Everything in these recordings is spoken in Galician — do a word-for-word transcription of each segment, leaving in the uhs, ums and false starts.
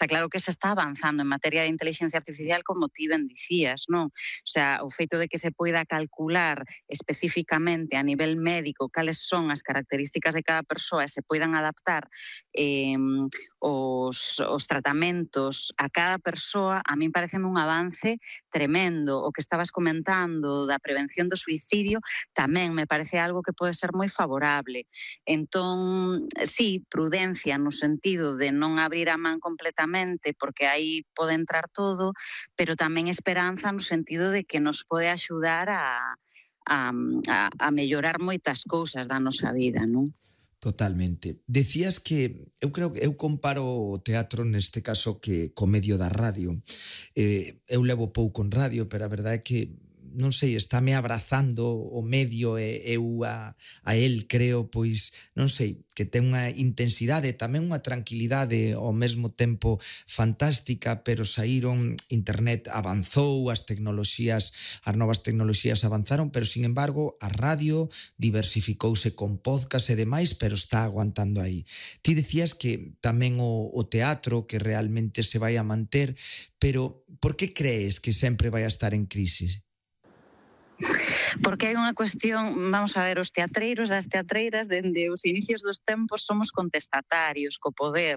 Está claro que se está avanzando en materia de inteligencia artificial, como ti ben dicías, non? O sea, o feito de que se poida calcular especificamente a nivel médico cales son as características de cada persoa e se poidan adaptar eh, os, os tratamentos a cada persoa, a min parece un avance tremendo. O que estabas comentando da prevención do suicidio tamén me parece algo que pode ser moi favorable. Entón, sí, prudencia no sentido de non abrir a man completamente, porque aí pode entrar todo, pero tamén esperanza no sentido de que nos pode axudar a, a, a, a mellorar moitas cousas da nosa vida, non? Totalmente. Decías que eu creo que eu comparo o teatro neste caso que co medio da radio. Eh, eu levo pouco en radio, pero a verdade é que non sei, estáme abrazando o medio e eu a, a el creo, pois, non sei, que ten unha intensidade, tamén unha tranquilidade ao mesmo tempo fantástica, pero saíron, internet avanzou, as tecnoloxías, as novas tecnoloxías avanzaron, pero, sin embargo, a radio diversificouse con podcast e demais, pero está aguantando aí. Ti decías que tamén o, o teatro, que realmente se vai a manter, pero por que crees que sempre vai a estar en crisis? Porque hai unha cuestión, vamos a ver, os teatreiros e as teatreiras dende os inicios dos tempos somos contestatarios co poder,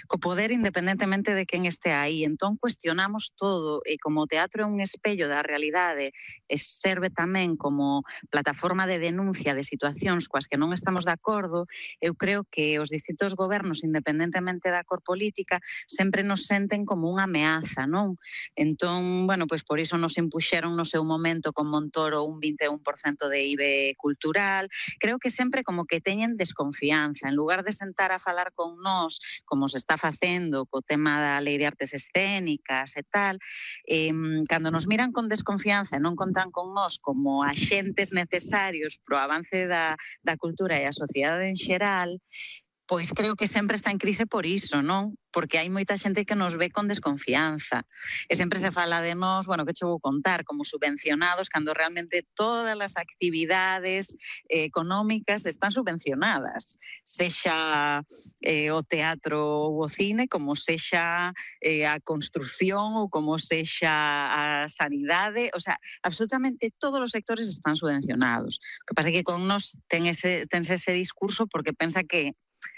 co poder independentemente de quen este aí. Entón cuestionamos todo e como o teatro é un espello da realidade e serve tamén como plataforma de denuncia de situacións coas que non estamos de acordo, eu creo que os distintos gobernos, independentemente da cor política, sempre nos senten como unha ameaza, non? Entón, bueno, pois por iso nos impuxeron no seu momento con Montoro un vinte e un por cento de I B E cultural. Creo que sempre como que teñen desconfianza. En lugar de sentar a falar con nós, como se está facendo co tema da Lei de Artes Escénicas e tal, eh, cando nos miran con desconfianza e non contan con nós como axentes necesarios pro avance da, da cultura e a sociedade en xeral, pois creo que sempre está en crise por iso, non? Porque hai moita xente que nos ve con desconfianza. E sempre se fala de nós, bueno, que che vou contar, como subvencionados, cando realmente todas as actividades eh, económicas están subvencionadas. Sexa eh, o teatro ou o cine, como sexa eh, a construción ou como sexa a sanidade. O sea, absolutamente todos os sectores están subvencionados. O que pasa é que con nós ten ese, ten ese discurso porque pensa que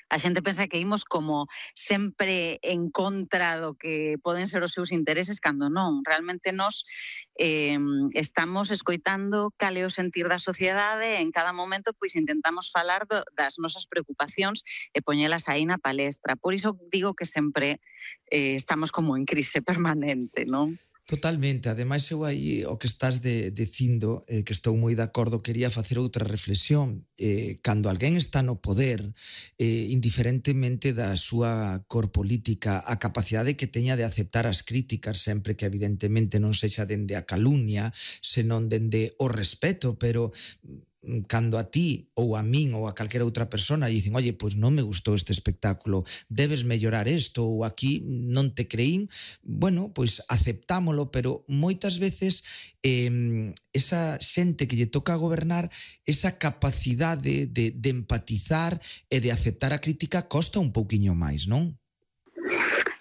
a xente pensa que imos como sempre en contra do que poden ser os seus intereses, cando non. Realmente nós eh, estamos escoitando cal é o sentir da sociedade e en cada momento pois intentamos falar do, das nosas preocupacións e poñelas aí na palestra. Por iso digo que sempre eh, estamos como en crise permanente, non? Totalmente, ademais eu aí o que estás de, dicindo, eh, que estou moi de acordo, quería facer outra reflexión. Eh, cando alguén está no poder, eh, indiferentemente da súa cor política, a capacidade que teña de aceptar as críticas, sempre que evidentemente non sexa dende a calumnia, senón dende o respeto, pero cando a ti ou a min ou a calquera outra persona dicen, oye, pois non me gustou este espectáculo, debes mellorar isto ou aquí non te creín, bueno, pois aceptámolo, pero moitas veces eh, esa xente que lle toca gobernar, esa capacidade de, de empatizar e de aceptar a crítica costa un pouquiño máis, non?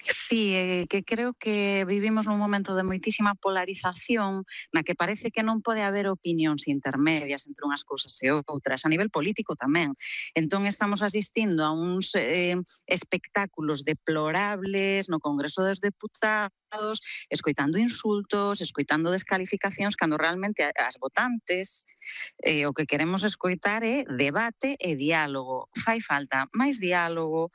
Sí, eh, que creo que vivimos nun momento de moitísima polarización na que parece que non pode haber opinións intermedias entre unhas cousas e outras, a nivel político tamén. Entón estamos asistindo a uns eh, espectáculos deplorables no Congreso dos Deputados, escoitando insultos, escoitando descalificacións, cando realmente as votantes eh, o que queremos escoitar é debate e diálogo. Fai falta máis diálogo,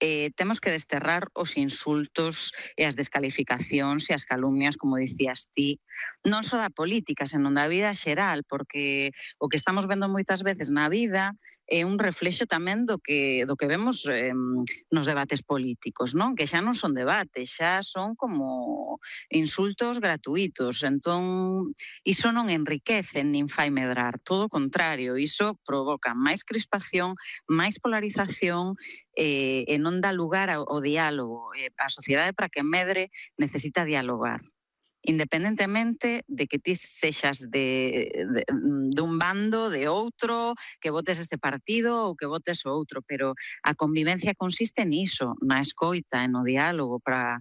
Eh, temos que desterrar os insultos e as descalificacións e as calumnias, como dicías ti, non só da política, senón da vida xeral, porque o que estamos vendo moitas veces na vida é un reflexo tamén do que, do que vemos eh, nos debates políticos, non? Que xa non son debates, xa son como insultos gratuitos. Entón, iso non enriquece nin fai medrar, todo o contrario, iso provoca máis crispación, máis polarización, eh, e non dá lugar ao, ao diálogo. Eh, a sociedade, para que medre, necesita dialogar, independentemente de que ti sexas de, de, de un bando, de outro, que votes este partido ou que votes o outro, pero a convivencia consiste niso, na escoita e no diálogo, para